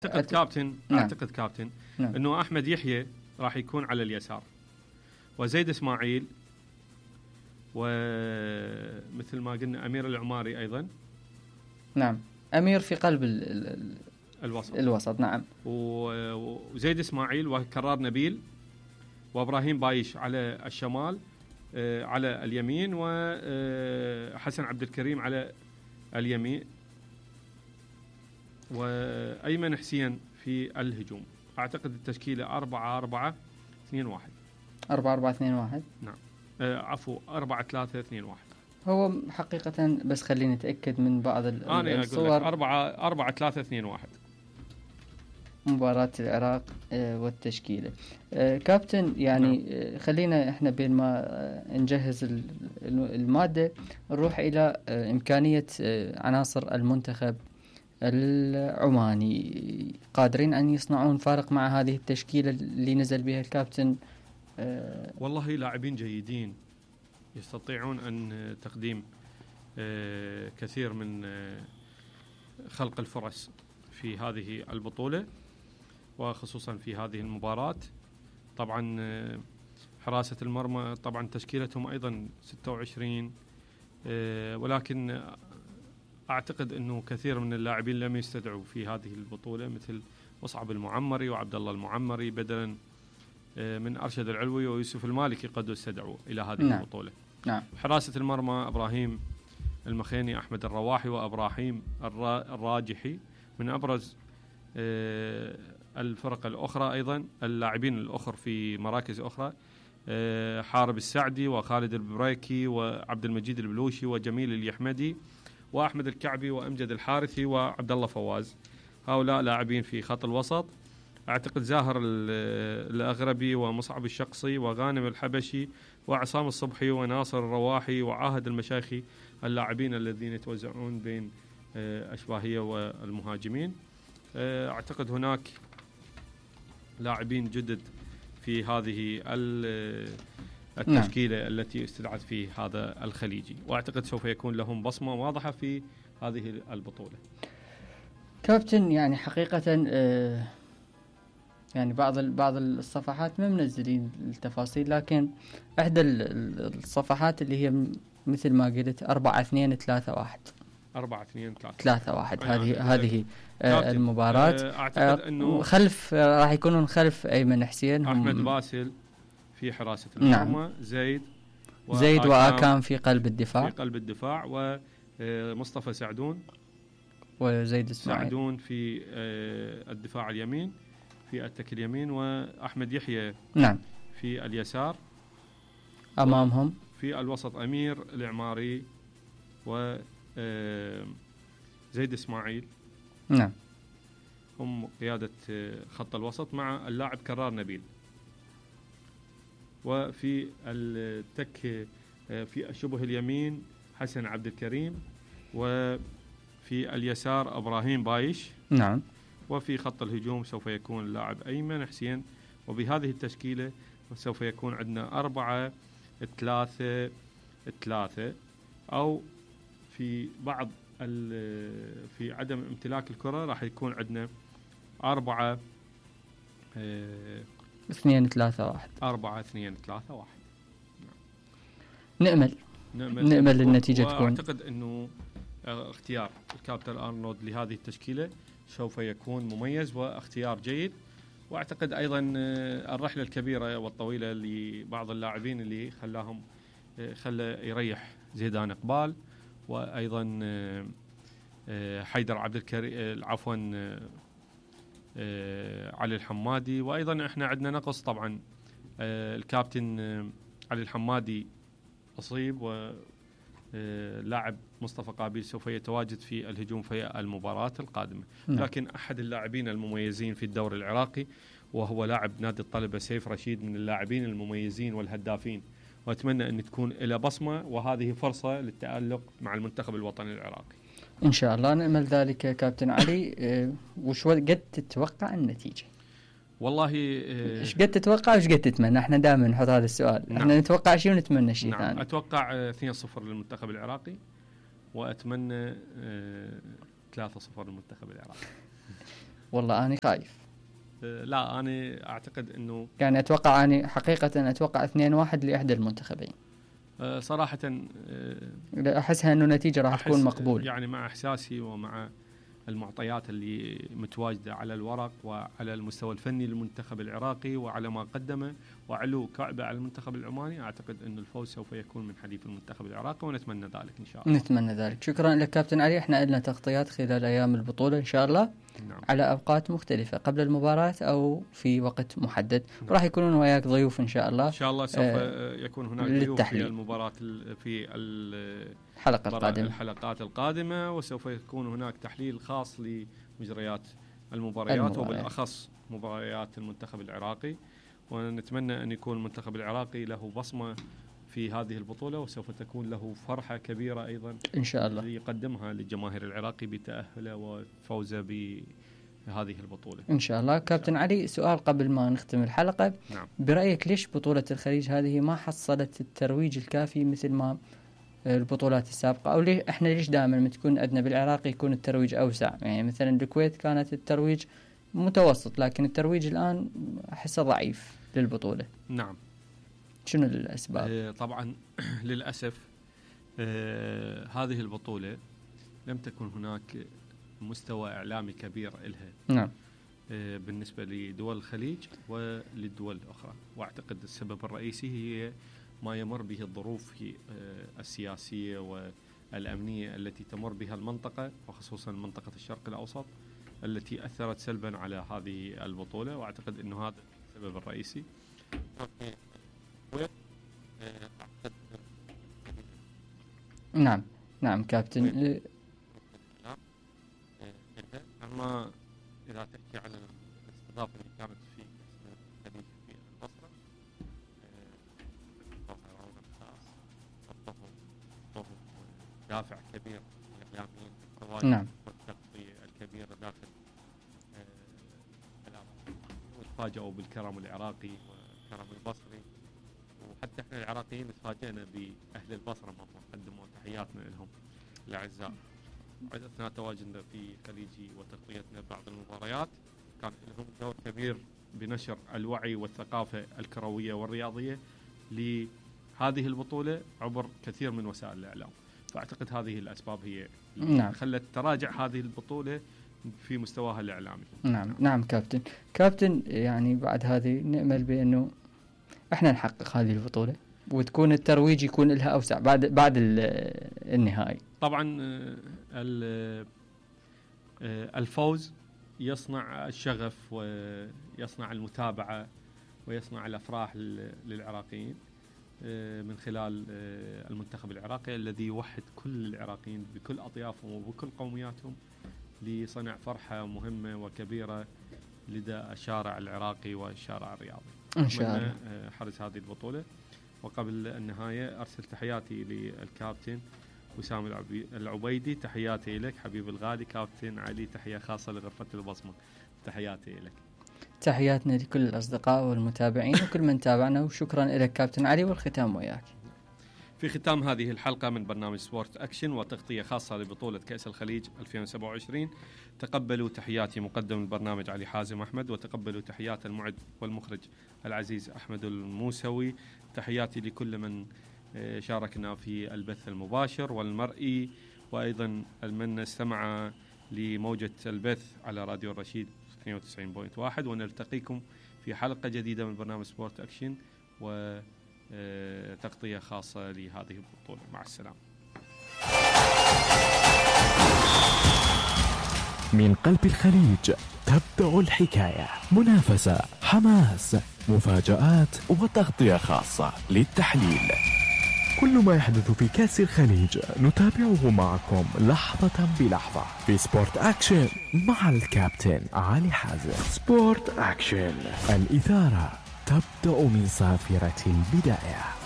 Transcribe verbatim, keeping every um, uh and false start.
اعتقد كابتن نعم. اعتقد كابتن نعم. انه احمد يحيى راح يكون على اليسار، وزيد اسماعيل، ومثل ما قلنا امير العماري ايضا. نعم، امير في قلب ال ال الوسط الوسط نعم. وزيد اسماعيل وكرار نبيل وابراهيم بايش على الشمال آه على اليمين، وحسن عبد الكريم على اليمين، وايمن حسين في الهجوم. اعتقد التشكيله أربعة أربعة اثنين واحد. أربعة أربعة اثنين واحد. نعم آه عفوا أربعة ثلاثة اثنين واحد. هو حقيقة بس خليني أتأكد من بعض أنا الصور. أربعة أربعة ثلاثة اثنين واحد مباراة العراق والتشكيلة. كابتن يعني نعم. خلينا إحنا بين ما نجهز المادة نروح إلى إمكانية عناصر المنتخب العماني، قادرين أن يصنعون فارق مع هذه التشكيلة اللي نزل بها الكابتن؟ والله لاعبين جيدين يستطيعون أن تقديم كثير من خلق الفرص في هذه البطولة، وخصوصا في هذه المباراة. طبعا حراسة المرمى طبعا تشكيلتهم أيضا ستة وعشرين، ولكن أعتقد أنه كثير من اللاعبين لم يستدعوا في هذه البطولة، مثل مصعب المعمري وعبد الله المعمري بدلا من أرشد العلوي ويوسف المالكي قد استدعوا إلى هذه نعم. البطولة. نعم. حراسة المرمى إبراهيم المخيني، أحمد الرواحي، وإبراهيم الراجحي من أبرز الفرق الأخرى. أيضا اللاعبين الأخر في مراكز أخرى حارب السعدي وخالد البريكي وعبد المجيد البلوشي وجميل اليحمدي وأحمد الكعبي وأمجد الحارثي وعبد الله فواز. هؤلاء لاعبين في خط الوسط. أعتقد زاهر الأغربي ومصعب الشقصي وغانم الحبشي وعصام الصبحي وناصر الرواحي وعاهد المشايخي اللاعبين الذين يتوزعون بين أشباهية والمهاجمين. أعتقد هناك لاعبين جدد في هذه التشكيلة نعم. التي استدعت في هذا الخليجي، وأعتقد سوف يكون لهم بصمة واضحة في هذه البطولة. كابتن يعني حقيقة آه يعني بعض بعض الصفحات ما منزلين التفاصيل، لكن إحدى الصفحات اللي هي مثل ما قلت أربعة اثنين ثلاثة واحد. أربعة اثنين ثلاثة ثلاثة واحد. هذه هذه آه المباراة. أعتقد أنه خلف آه راح يكونون خلف أيمن حسين أحمد باسل في حراسة المرمى. نعم. زيد زيد وآكام في قلب الدفاع في قلب الدفاع ومصطفى سعدون وزيد اسماعيل سعدون في الدفاع اليمين في التك اليمين، وأحمد يحيى نعم في اليسار. أمامهم في الوسط أمير العماري و زيد إسماعيل نعم هم قيادة خط الوسط مع اللاعب كرار نبيل. وفي التك في شبه اليمين حسن عبد الكريم، وفي اليسار إبراهيم بايش نعم. وفي خط الهجوم سوف يكون اللاعب أيمن حسين. وبهذه التشكيلة سوف يكون عندنا أربعة ثلاثة ثلاثة، أو في بعض في عدم امتلاك الكرة راح يكون عندنا أربعة اثنين ثلاثة واحد. أربعة اثنين ثلاثة واحد. نأمل نأمل, نأمل النتيجة تكون. أعتقد أنه اختيار الكابتن أرنولد لهذه التشكيلة سوف يكون مميز واختيار جيد. واعتقد ايضا الرحله الكبيره والطويله لبعض اللاعبين اللي خلاهم خلى يريح زيدان اقبال، وايضا حيدر عبد الكريم عفوا علي الحمادي. وايضا احنا عندنا نقص طبعا الكابتن علي الحمادي اصيب، و لاعب مصطفى قابيل سوف يتواجد في الهجوم في المباراة القادمة. نعم. لكن أحد اللاعبين المميزين في الدوري العراقي وهو لاعب نادي الطلبة سيف رشيد من اللاعبين المميزين والهدافين، وأتمنى أن تكون إلى بصمة وهذه فرصة للتألق مع المنتخب الوطني العراقي إن شاء الله. نأمل ذلك كابتن علي. أه وش قد تتوقع النتيجة؟ والله ايش قد تتوقع وايش قد تتمنى؟ احنا دائما نحط هذا السؤال. نعم. احنا نتوقع شيء ونتمنى شيء نعم. ثاني. اتوقع اثنين صفر للمنتخب العراقي، واتمنى ثلاثة صفر للمنتخب العراقي. والله أنا خايف. لا أنا أعتقد أنه يعني أتوقع أنا حقيقة أتوقع اثنين واحد لإحدى المنتخبين صراحة. أحسها أنه نتيجة راح تكون مقبول، يعني مع إحساسي ومع المعطيات اللي متواجدة على الورق وعلى المستوى الفني للمنتخب العراقي وعلى ما قدمه وعلو كعبة على المنتخب العماني، أعتقد أن الفوز سوف يكون من حليف المنتخب العراقي ونتمنى ذلك إن شاء الله. نتمنى ذلك. شكرا لك كابتن علي. احنا لنا تغطيات خلال أيام البطولة إن شاء الله. نعم. على أوقات مختلفة قبل المباراة أو في وقت محدد. نعم. راح يكونون وياك ضيوف إن شاء الله. إن شاء الله سوف آه يكون هناك ضيوف في المباراة في الحلقة القادمة الحلقات القادمة، وسوف يكون هناك تحليل خاص لمجريات المباريات, المباريات وبالأخص مباريات المنتخب العراقي، ونتمنى أن يكون المنتخب العراقي له بصمة في هذه البطولة، وسوف تكون له فرحة كبيرة أيضا إن شاء الله يقدمها للجماهير العراقي بتأهله وفوزه بهذه البطولة إن شاء الله. كابتن علي، سؤال قبل ما نختم الحلقة. نعم. برأيك ليش بطولة الخليج هذه ما حصلت الترويج الكافي مثل ما البطولات السابقة، أو ليه إحنا ليش دائما ما تكون عندنا بالعراق يكون الترويج أوسع؟ يعني مثلا الكويت كانت الترويج متوسط، لكن الترويج الآن أحسه ضعيف للبطولة. نعم. شنو الأسباب؟ آه طبعا للأسف آه هذه البطولة لم تكن هناك مستوى إعلامي كبير إلها. نعم. آه بالنسبة لدول الخليج وللدول الأخرى، وأعتقد السبب الرئيسي هي ما يمر به الظروف السياسية والأمنية التي تمر بها المنطقة، وخصوصا منطقة الشرق الأوسط التي أثرت سلبا على هذه البطولة، وأعتقد أنه هذا السبب الرئيسي. نعم نعم كابتن. أما إذا تحكي عن الاستضافة اللي كانت في الخليج في البصرة، دافع كبير للإعلاميين بالتواجد. نعم. والتغطية الكبيرة داخل العراق، وتفاجئوا بالكرم العراقي والكرم البصري، وحتى احنا العراقيين تفاجئنا بأهل البصرة ما قدموا تحياتنا لهم الأعزاء. أثناء تواجدنا في خليجي وتغطيتنا بعض المباريات كان لهم دور كبير بنشر الوعي والثقافة الكروية والرياضية لهذه البطولة عبر كثير من وسائل الإعلام. فأعتقد هذه الأسباب هي نعم. خلت تراجع هذه البطولة في مستواها الإعلامي. نعم. نعم نعم كابتن. كابتن يعني بعد هذه نأمل بأنه احنا نحقق هذه البطولة وتكون الترويج يكون لها أوسع بعد بعد النهائي. طبعا الفوز يصنع الشغف ويصنع المتابعة ويصنع الأفراح للعراقيين من خلال المنتخب العراقي الذي يوحد كل العراقيين بكل أطيافهم وبكل قومياتهم لصنع فرحة مهمة وكبيرة لدى الشارع العراقي والشارع الرياضي. إن شاء الله حرز هذه البطولة. وقبل النهاية أرسل تحياتي للكابتن وسام العبيدي. تحياتي لك حبيب الغالي كابتن علي. تحية خاصة لغرفة البصمة. تحياتي لك. تحياتنا لكل الأصدقاء والمتابعين وكل من تابعنا، وشكرا لك كابتن علي، والختام وياك. في ختام هذه الحلقة من برنامج سبورت أكشن وتغطية خاصة لبطولة كأس الخليج ألفين وسبعة وعشرين، تقبلوا تحياتي مقدم البرنامج علي حازم أحمد، وتقبلوا تحيات المعد والمخرج العزيز أحمد الموسوي. تحياتي لكل من شاركنا في البث المباشر والمرئي، وأيضا من استمع لموجة البث على راديو الرشيد اثنين وتسعين فاصلة واحد، ونلتقيكم في حلقة جديدة من برنامج سبورت أكشن وتغطية خاصة لهذه البطولة. مع السلامة. من قلب الخليج تبدأ الحكاية، منافسة، حماس، مفاجآت وتغطية خاصة للتحليل. كل ما يحدث في كأس الخليج نتابعه معكم لحظة بلحظة في سبورت أكشن مع الكابتن علي حازم. سبورت أكشن، الإثارة تبدأ من صافرة البداية.